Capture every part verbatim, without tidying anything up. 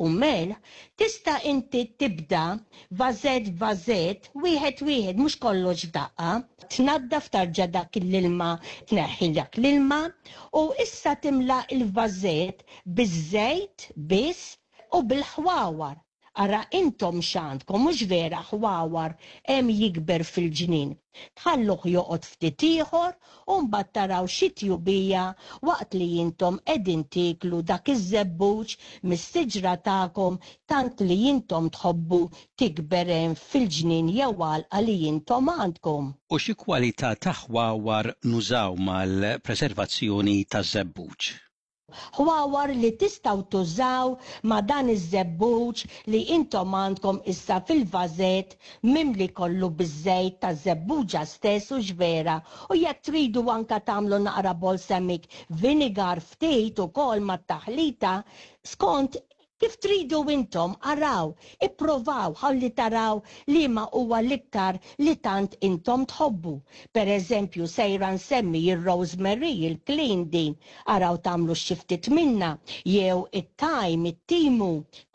u melħ, tista' inti tibda vażett vażett, wieħed wieħed, mhux kollox f'daqqa. Tnaddaf tarġa' dak l-ilma, tneħħi dak l-ilma u issa timla il-vażett biż-żejt biss u bil-ħwawar. Ara intom x'għandkom, mhux vera, ħwawar hemm jikber fil-ġnien. Tħalluh joqgħod ftit ieħor u mbagħad taraw xi tjubija waqt li intom qegħdin tieklu dak iż-żebbuġ mis-siġra tagħkom tant li intom tħobbu tikber hemm fil-ġnien jew għalqa li intom għandkom. U xi kwalità ta' ħwawar nużaw mal-preservazzjoni taż-żebbuġ? Ħwawar li tistgħu tużaw ma' dan iż-żebbuġ li intom għandkom issa fil-vażett mimli kollu biż-żejt taż-żebbuġa stess, u vera. U jekk tridu anka tagħmlu naqra balsamic vinegar ftit ukoll mat-taħlita, skont kif tridu intom, araw, ipprovaw ħalli taraw li ma huwa l-iktar li tant intom tħobbu. Per eżempju, sejra nsemmi il-rosemary, il-clean din, araw tagħmlu xi ftit minna, jew it-thyme, it-timu,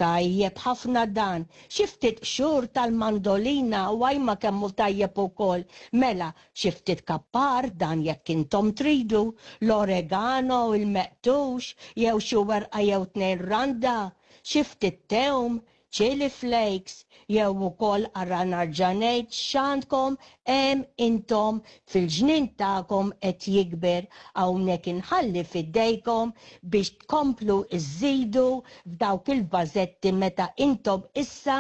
tajjeb ħafna dan, xi ftit qxur tal-mandolina, u għajma kemmu tajjeb ukoll, mela, xi ftit kappar dan jekk intom tridu, l-oregano, il-meqtux, jew xi werqa jew tnejn randa, xi ftit tewm, chili flakes, jew ukoll ara nerġa' ngħid x'għandkom hemm intom fil-ġnien tagħkom qed jikber. Hawnhekk inħalli f'idejkom biex tkomplu iżidu f'dawk il-vażetti meta intom issa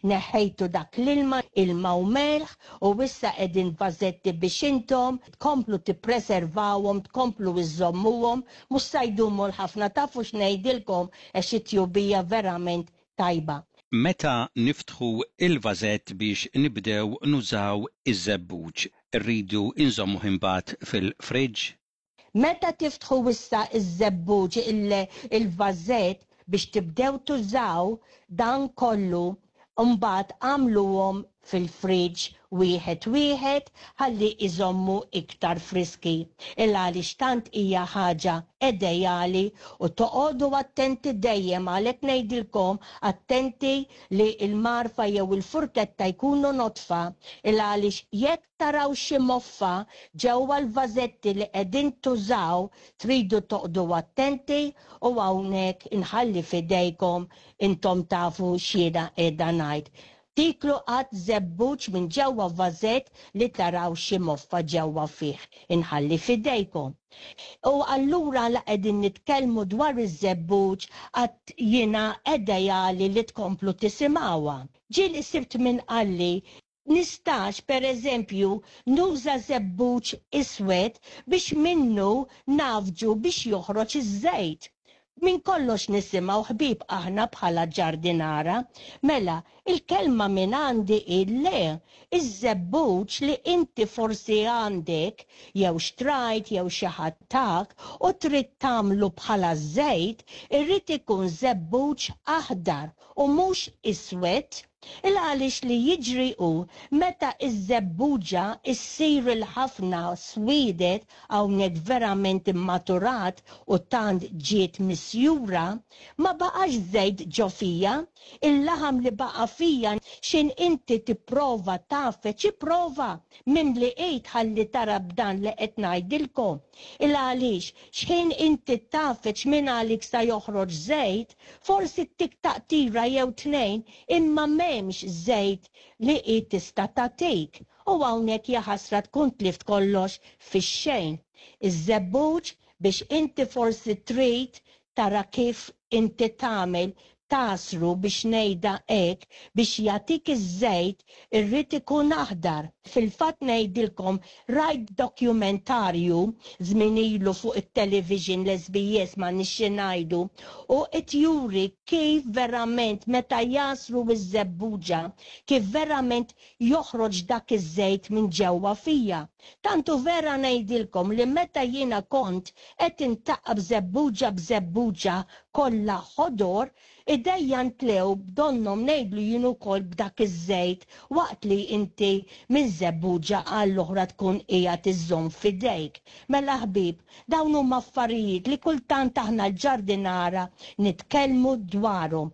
neħħejtu dak l-ilma, ilma u melħ, u issa qegħdin vażetti biex intom tkomplu tippreservawhom, tkomplu iżommuhom, mhux se jdumu l-ħafna, tafu x'ngħidilkom, għax it-tjubija verament tajba. Meta niftħu il-vażett biex nibdew nużaw iż-żebbuġ, rridu inżommuh imbagħad fil-friġġ? Meta tiftħu issa iż-żebbuġ il-vażett biex tibdew tużaw dan kollu, mbagħad għamluhom fil-friġġ wieħed wieħed ħalli iżommu iktar friski. Il għaliex tant hija ħaġa ideali u toqogħdu attenti dejjem, għalhekk ngħidilkom attenti li l-mgħarfa jew il-furketta jkunu nodfa, il għaliex jekk taraw xi moffa ġewwa l-vażetti li qegħdin tużaw, tridu toqgħodu attenti u hawnhekk inħalli f'idejkom, intom tafu x'jiena qiegħda ngħid. Tiklu qatt żebbuġ minn ġewwa vażett li taraw xi moffa ġewwa fih. Inħalli f'idejkom. U allura la qegħdin nitkellmu dwar iż-żebbuġ, qatt jiena ideali li tkomplu tisimgħuha. Ġieli sibt minn qalli nistax per eżempju nuża żebbuġ iswed biex minnu nagħfġu biex joħroġ iż-żejt. Min kollox nisimgħu, ħbieb, aħna bħala ġardinara, mela il-kelma minn għandi il-le, iż-żebbuġ li inti forsi għandek jew xtrajt jew xi ħadd tak u trid tagħmlu bħala żejt, irrid ikun żebbuġ aħdar u mhux iswed. Il għaliex li jiġri hu meta iż-żebbuġa issir il-ħafna swidet, hawnhekk verament immaturat u tant ġiet misjura, ma baqax żejt ġo fija, il-laħam li baqa fija xin inti tipprova tagħfeġ, ipprova mimli id ħalli tara b'dan li qed ngħidilkom. Il għaliex x'ħin inti tagħfeġ minn għalik sa joħroġ żejt, forsi tik taqtira jew tnejn, imma m'hemmx żejt li hi tista' tagħtik. U hawnhekk jaħasra tkun tlift kollox fix-xejn. Iż-żebbuġ biex inti forsi trid tara kif inti tagħmel tagħsru biex ngħidha hekk biex jagħtik iż-żejt irrid ikun aħdar. Fil-fatt ngħidilkom rajt dokumentarju żmien ilu fuq it-television l-S B S ma nixxi ngħidu u qed juri kif verament meta jagħsru iż-żebbuġa kif verament joħroġ dak iż-żejt minn ġewwa fija. Tantu vera ngħidilkom li meta jiena kont qed intaqqab żebbuġa b'żebbuġa kollha ħodor, idejja ntlew b'donnhom ngħidlu jien ukoll b'dak iż-żejt waqt li inti minn żebbuġa għall-oħra tkun qiegħed iżżomm f'idejk. Mela ħbieb, dawn huma affarijiet li kultant aħna l-ġardinara nitkellmu dwarhom.